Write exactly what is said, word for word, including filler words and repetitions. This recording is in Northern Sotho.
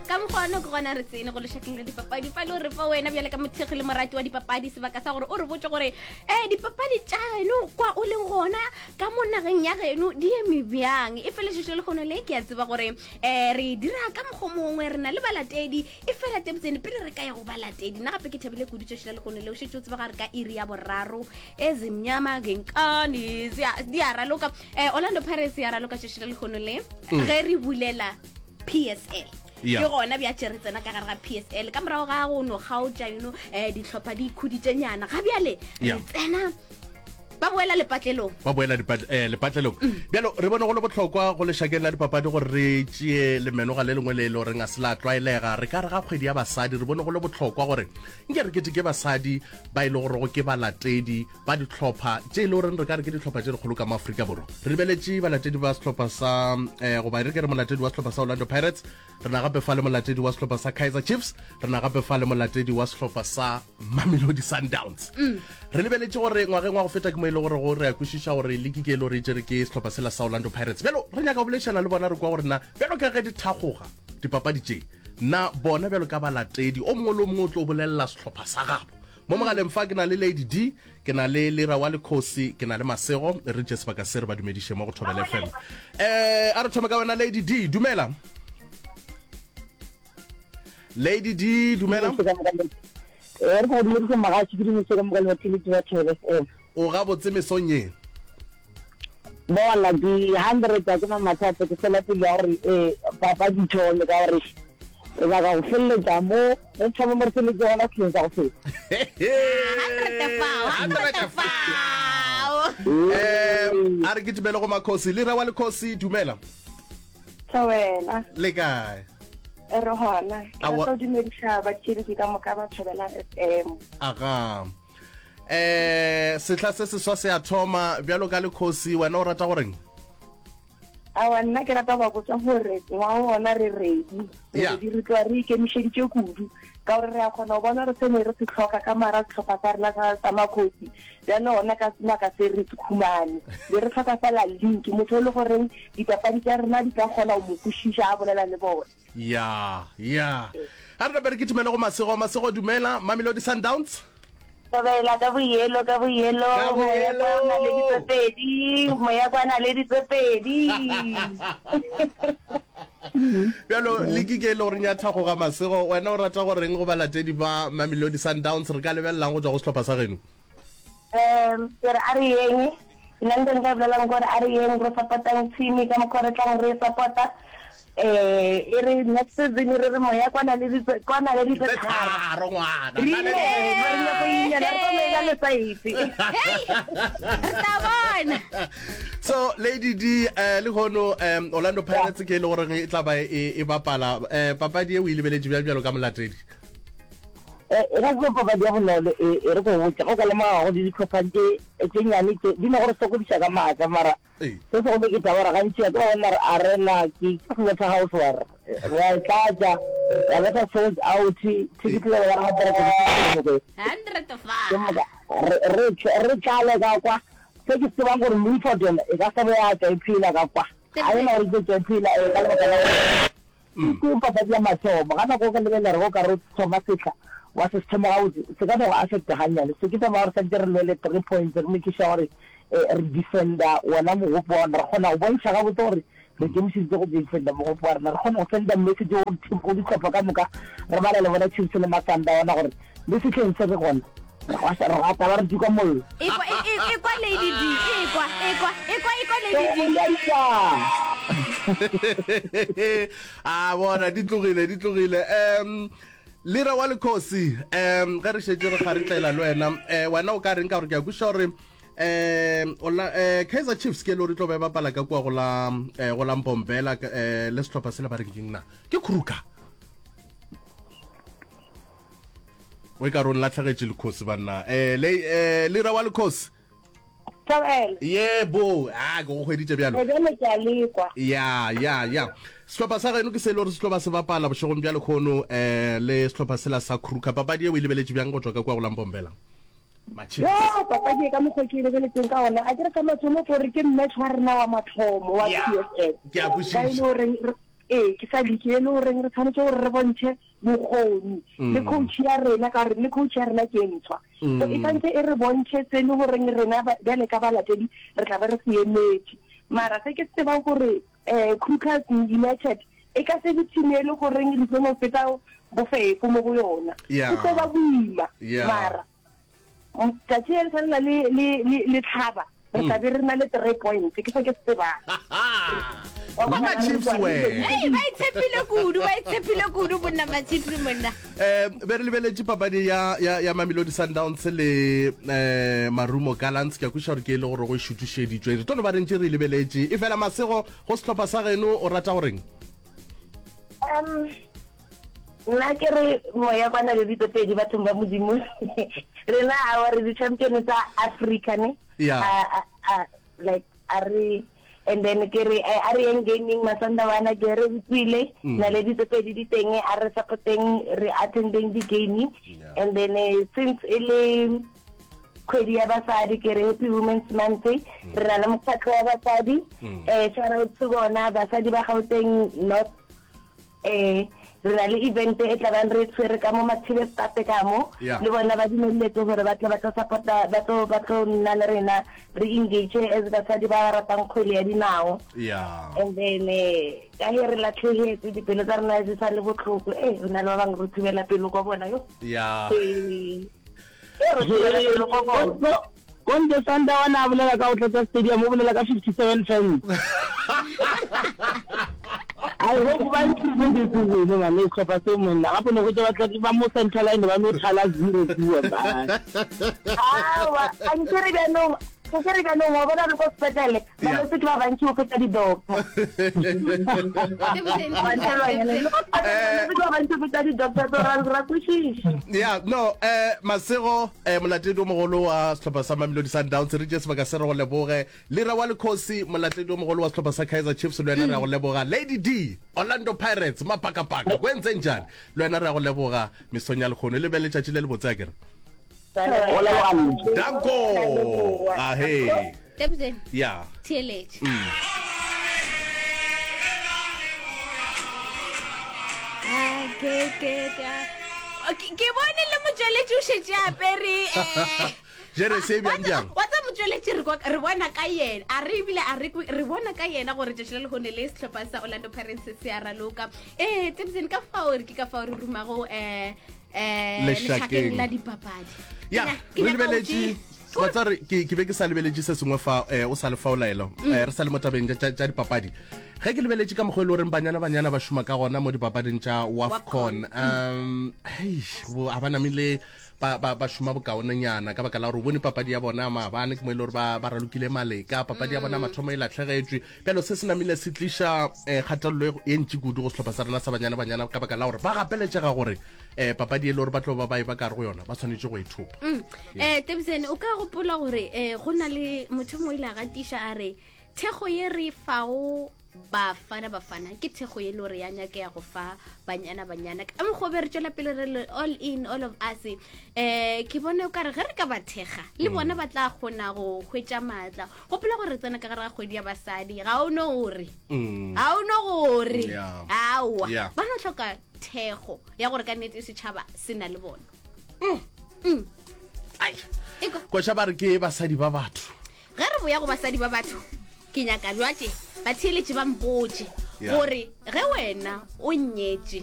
Ka mokgwa ono ke gona re tsene go lešakeng la dipapadi. Fa le gore fa wena bjale ka mothekgi le morati wa dipapadi sebaka sa gore o re botse gore um dipapadi tša geno kwa o leng gona ka mo nageng ya geno di eme bjang. E felešišo le kgono le ke a tseba gore um re dira ka mokgwa mongwe re na le balatedi e fela tebtsene pele re ka ya go balatedi. Nna gape ke thabile kudu tšoši la lekgono le o šetše o tseba gare ka iri ya boraro ezimnyama ngenkani di a raloka. um Orlando Pirates ya raloka tšoši la lekgono le ge re bulela P S L. Yeah. Ke gona bja tše re tsena ka gare ga P S L ka morago ga go no kgaotša you know eh dihlopha di ikhuditše nyana ga bjale re tsena ba boela lepatlelong ba boela eh, lepatlelong bjalo re bone go le bohlokwa go lešakeng la dipapadi gore re tšee lemenoga le lengwe le e le goreng a se la tlwaelega. Re ka re ga kgwedi ya basadi re bone go le bohlokwa gore nke re keteke basadi ba e le gorego ke balatedi ba dihlopha tše e le goreng re ka re ke dihlopha tše dikgolo ka mo Afrika Borwa. Re lebeletše balatedi ba sehlopha sa eh, goba re ke re molatedi wa sehlopha sa Orlando Pirates, re na gape fa le molatedi wa sehlopha sa Kaizer Chiefs, re na gape fa le molatedi wa sehlopha sa Mamelodi Sundowns. Mm. Re lebeletše gore ngwageng wa go feta ke mo e le gore go re a kwešiša gore liki ke e le gore e tšere ke sehlopha sela sa Orlando Pirates. Bjalo re nyaka go boledišana le bona re kwa gore na bjalo ka ge di thakgoga dipapadi tše, na bona bjalo ka balatedi o mongwe le o mongwe o tlo bolelela sehlopha sa gabo. Mo mogaleng fa ke na le Lady D, ke na le Lera wa Lekgosi, ke na le Masego. Re tše sebaka se re ba dumediše mo go Thobela F M. Eh, a re thome ka wena Lady D, dumela. Lady D, dumela. Eh, re go dumedise mogatši, ke dumedise ka moka le batheeletši ba Thobela F M. O gabotse mesong ye? Bona, ke hundred a ke na mathata, ke fela pelo ya gore eh papadi thome ka gore re nyaka go feleletša mo re thome mo re feletše gona sehleng sa go feta. Hundred fao, hundred fao. Um, a re kitimele go Makhosi. Lera wa Lekhosi, dumela. Thobela. Le kae? Re gona. Ke Aowa. rata go dumediša batheeletši ka moka ba Thobela F M. Aga. Eh, sehla se seswa se a thoma bjalo ka Lekhosi, wena o rata goreng? Aowa, nna ke rata go ba botša gore ngwaga wona re ready. Re Yeah. ready, re tloga re ikemišeditše kudu ka gore re a kgona go bona gore se ne re se hloka ka mara sehlopha sa rena sa, sa Makhosi bjale gona ka sebaka se re se khumane. Be re hloka fela link, motho o le goreng dipapadi tša rena di ka kgona go mo kwešiša a bolela le bona. Ya, ya. A re nape re kitimele go Masego. Masego, dumela. Mamelodi Sundowns. Thobela ka boyelo, ka boyelo, Ka moya kwa o na le boyelo. ditse pedi, moya kwa na le ditse pedi. Bjalo liki ke e le goreng ya thakgoga Masego, wena o rata goreng go balatedi ba Mamelodi Sundowns re ka lebelelang go tšwa go sehlopha sa geno? Um, ke re a re yeng, nna ntho nka e bolelang ke gore a re yeng re support-ang team ka mokgwa re tlang re e support-a. Eh, e re next season re re moya kwa na le ditse, kwa na le ditse Tse tharo. tharo, ngwana. Re ile, re nyako inyana, re tlo mela le saete. Hey, re tla bona. So Lady D, eh, le hono um Orlando Pirates ke e le gore e tla ba e, e bapala eh, papadi e o e lebeletše bjang bjalo ka molatedi? Eh, e ka se papadi ya bonolo, e, e re go botša, go ka lemoga go di dihlopha tše, tše nnyane tše, di no go re sokodiša ka maatla, mara Ee. se segolo ke taba gore gantši a ke ba bona re arena ke ke slaughterhouse wa re re a e tlatša, ya betha sold out, ticket le ba hundred and fifty Hundred ke fa. moka re re re tlale ka kwa. Se ke se tsebang gore Milford yona e ka se be ya tšwa e phela ka kwa, ga e na gore e tlo tšwa e phela eh, ka lebaka la gore ke papadi ya mathomo. Ga nako o ka lebelela re go ka re o thoma sehla wa se se thoma gabotse, se ka no go affecta gannyane. So ke taba ya gore santse re lwele three points, re make sure gore eh, re defender wona mogopo wa rena, re kgona go bontšha gabotse gore re ikemišeditše go defender mogopo wa rena, re kgone go senda message go team, go dihlopha ka moka, re bala le bona Chiefs le Masandawana gore le sehleng se re gona re gwa- re gata ba re tuka mollo. Ekwa, e, e, ekwa Lady D, ekwa, ekwa, ekwa, ekwa Lady D. A bona di tlogile, di tlogile. Um Lera wa Lekhosi, um ge re šetše re kgaritlela le wena, eh, wena o ka reng ka gore ke a kwešiša gore um ola eh, Kaizer Chiefs ke e le gore e tlo ba e bapala ka kua go la eh, go la Mbombela eh, le sehlopha sela ba reng keng na ke Kruger. O e ka re o nlatlhegetše Lekhosi banna. Eh, le eh, Lera wa Lekhosi. Thobela. Yebo, a ke go hweditše bjalo. Eh, bjale ke a lekwa. Ya, ya, ya. Sehlopha sa geno ke se e le gore se tlo ba se bapala bošegong bja lehono eh, le sehlopha sela sa Kruger. Papadi ye o e lebeletše bjang go tšwa ka kua go la Mbombela? Matšhedi. Yo, papadi e ka mokgwa ke e lebeletseng ka ona, a ke re sa mathomo ke gore ke match wa rena wa mathomo wa Ya, P S L. ke a Ba e le kwešiša. gore re, Ee, ke sa league e le goreng re tshwanetse gore re bontšhe bokgoni le coach ya rena, ka gore le coach ya rena ke e ntshwa. So e tshwanetse e re bontšhe se e le goreng rena bjale ka balatedi re tla be re se emetše. Mara se ke se tsebang gore um Kruger United e ka se be team e le goreng re tlo no feta bofefo mo go yona. Yeah. Go tlo ba boima. Yeah. Mara tšatši le tshwanela le le le le tlhaba re tla be re na le three points, ke se ke se tsebang. Mama Chiefs we. Ei, ba itshepile kudu, ba itshepile kudu bonna ba Chiefs monna. Eh be re lebeletše papadi ya ya ya Mamelodi Sundowns le eh Marumo Gallants, ke a kwešiša gore ke e le gore go e šutušeditšwe, re tlo no ba re ntše re e lebeletše. E fela Masego, go sehlopha sa geno o rata goreng? Um nna ke re moya kwana le ditopedi bathong ba Modimo, rena awa re di-champion tsa Africa ne. Yeah. A, a, a, like a re, and then ke re a re yeng gaming Masandawana, ke re utlwile na le ditopedi di teng, a re supporteng, re attendeng di-game. Yeah. And then eh, since e le kgwedi ya basadi, ke re happy women's month, re na le mokgatlho wa basadi, eh shout out to bona basadi ba Gauteng North. Eh re na le event e tla bang re tshwere ka mo Mathibe State ka mo, Yeah. le bona ba dumeletse gore ba tle ba tlo supporta, ba tlo, ba tlo nna le rena re engage as basadi ba ba ratang kgwele ya dinao. Yeah. And then eh ka he re latlhegetse dipelo tsa rena di sa le botlhoko, eh re na le ba bangwe re thubela pelo kwa bona yo. Yeah. Eh, eh, re thubela pelo kwa bona. Konde Sandawana a bolela ka go tlatsa stadium, o bolela ka fifty-seven fans. I hope ba improve this season, man. Sehlopha se monna gape ne go tse batla ba mo central line ba no thala zero bua man. Aowa, a nke re bjanong, ke re bjanong wa bona re ko sepetlele, Yeah. balwetse ke ba bantši go feta di-doctor. Balwetse ke ba bantši go feta di-doctor, so ra ra kwešiša. Yeah, no, eh Masego, eh molatledi o mogolo wa sehlopha sa Mamelodi Sundowns, re tše sebaka se re go leboge. Lira wa Lekhosi, molatledi o mogolo wa sehlopha sa Kaizer Chiefs, le wena re a go leboga. Lady D, Orlando Pirates, mapakapaka, go entseng jang? Le wena re a go leboga mesong ya lekgono. Le be letšatši le le botse akere. Go leboga nna. Danko. Ahe. Tebsen, Yeah. theeletše. Ah, ke ke ka Ke ke bone le motšweletši o šetše apere eh Jere se bjang bjang? Wa tsa motšweletši re kwa- re bona ka yena, a re ebile a re kwe- re bona ka yena gore tšatši la lehono le sehlopha sa Orlando Pirates se a raloka. Eh Tebsen, ka fao re ke ka fao re rumago eh eh Lešakeng. lešakeng la dipapadi. Ya, Ke nya- ke re nyaka go lebeletše tše- wa tsa re ke ke be ke sa lebeletše se sengwe fa eh, o sa le fa o laelo. Eh, re sa le mo tabeng tša- tša tša dipapadi. Ge ke lebeletše ka mokgwa e le goreng banyana banyana ba šoma ka gona mo dipapading tša WAFCON, um hei, bo a ba namile ba ba ba šoma bokaonenyana ka baka la gore o bone papadi ya bona maabane ke mo e le gore ba ba ralokile maleka, papadi ya bona mathomo e latlhegetšwe. Bjalo se se namile se tliša eh, kgatelelo e ntši kudu go sehlopha sa rena sa banyana banyana ka baka la gore ba gapeletšega gore eh, papadi e le gore ba tlo ba ba e ba ka gare go yona ba tshwanetše go e thopa. Mm. Eh Tebsen, o ka gopola gore eh go na le motho mo ile a gatiša a re thekgo ye re fago bafana bafana ke thekgo ye le gore ya nyakega go fa banyana banyana ka mokgwa o be re tšwela pele re le all in all of us. Eh ke bone o kare ge re ka ba thekga le bona ba tla kgona go hwetša maatla. Gopola gore re tsena ka gare ga kgwedi ya basadi, ga o no gore Mm. ga o no gore Yeah. aowa Yeah. ba no hloka thekgo ya gore ka nnete setšhaba se na le bona. Mm. Ai. Ekwa. Koša ba re ke basadi ba batho. Ge re boya go basadi ba batho, ke nyaka jwatše batheeletše ba mpotše Yeah. gore ge wena o nyetše